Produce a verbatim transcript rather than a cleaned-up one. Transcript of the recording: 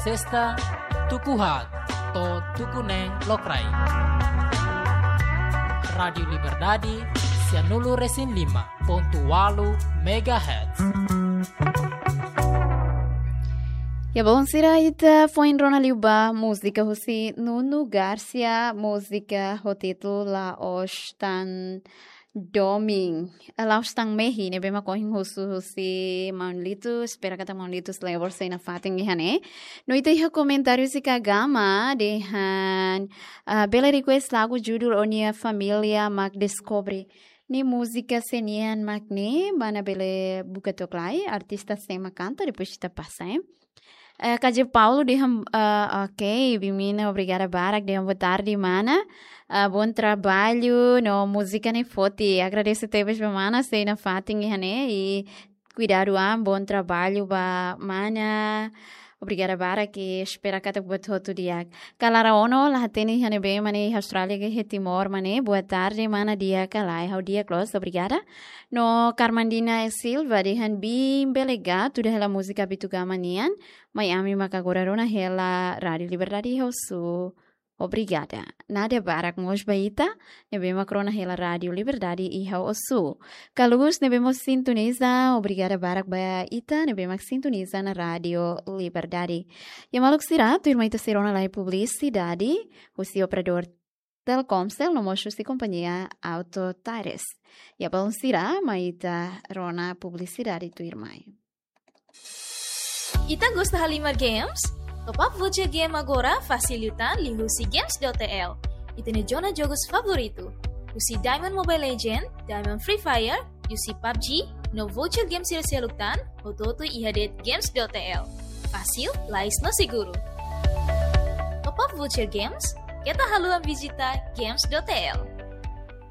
Sesta, tuku haat to'o tuku neen lokraik. Rádiu Liberdade, sia nulu resin lima pontu ualu megahertz. Ya, bom, sira, ita foin rona liu ba múzika husi Nuno Garcia, múzika ho títulu La'ós Tan Domin, La'ós Tan Mehi, ne'ebé mak ohin husu husi Maun Litus, espera katak Maun Litus lembra sei nafatin iha ne'e. No ita iha komentáriu husi Kagama dehan, ah, bele request lagu judul Ó-nia Família mak Deskobre. Ne'e múzika sé nian mak ne'e, mana bele buka to'ok lai, artista sé mak kanta, depois ita pasa, eh. Eh, K J Paulo dehan, eh, ok, Bimina, obrigada barak, dehan boa tarde, mana. Eh, bom trabalho, no múzika ne'e forte. Agradese tebes ba mana, sei nafatin iha ne'e, i kuidadu an, bom trabalho ba mana. Obrigada barak, i espera katak buat hotu di'ak. Kalara Ono, la hatene iha ne'ebé mak ne'e, iha Austrália ka iha Timor mak ne'e, boa tarde, mana, di'ak ka lae? Ha'u di'ak loos, obrigada. No Carmandina Silva dehan, Bim, bele ga tuda hela múzika Bitu Gama nian, mai ami maka agora rona hela Rádiu Liberdade iha Ossu. Obrigada. Nada barak mós ba ita ne'ebé mak rona hela Rádiu Liberdade iha Ossu. Kalugus ne'ebé mós sintoniza, obrigada barak ba ita ne'ebé mak sintoniza ona Rádiu Liberdade. Ya, maluk sira, tuirmai ita sei rona lai publisidade husi operadór Telkomcel no mós husi kompañia Auto Tires. Ya, balun sira, mai ita rona publisidade tuirmai. Ita gosta halimar games? Top up voucher game agora fasil liután liuhusi games dot T L. Ita-nia zona jogus favoritu, husi Diamond Mobile Legend, Diamond Free Fire, husi PUBG, no voucher game sira seluk tan, hotu-hotu iha de'it games dot T L. Fasil, lais no seguru. Top up voucher games? Keta haluha vizita games dot T L.